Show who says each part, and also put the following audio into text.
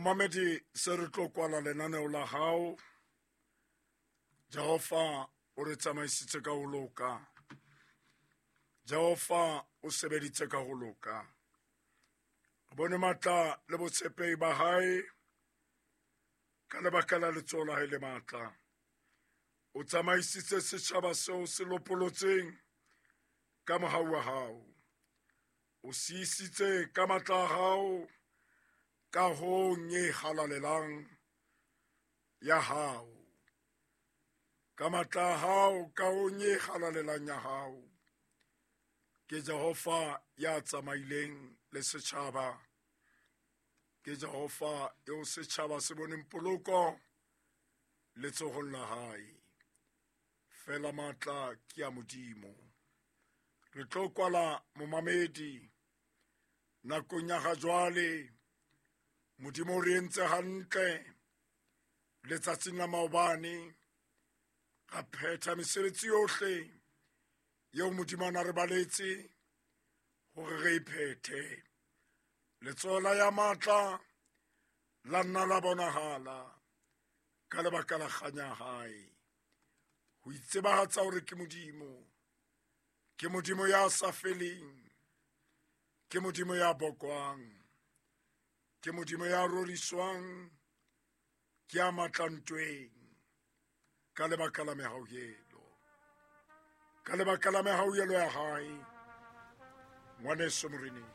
Speaker 1: Momamedi, se re tlo kwala lenaneo la hao. Jehova o re tsamaisitse ka ho loka. Jehova o sebeditse ka ho loka. Re bone matla le botshepehi ba hae ka lebaka la letsoho la hae le matla. O tsamaisitse setjhaba seo se lopolotseng ka mohau wa hao. O siisitse ka matla a hao kahong e halalelang ya hao. Ka matla a hao kahong e halalelang ya hao. Ke Jehova ya tsamaileng le setjhaba. Ke Jehova eo setjhaba se boneng poloko letsohong la hae. Fela matla ke a Modimo. Re tlo kwala momamedi nakong ya ga jwale. Modimo o re entse hantle letsatsing la maobane. Ra phetha mesebetsi yohle eo Modimo a na re baletse hore re e phethe. Letsoho la ya matla la nna la bonahala ka lebaka la kganya hae. Ho itsebahatsa hore ke Modimo, ke Modimo ya sa feleng, ke Modimo ya bokwang, ke Modimo ya roriswang, ke ya matla ntweng ka lebaka la mehauhelo. Ka lebaka la mehauhelo ya hae, ngwaneso Moreneng.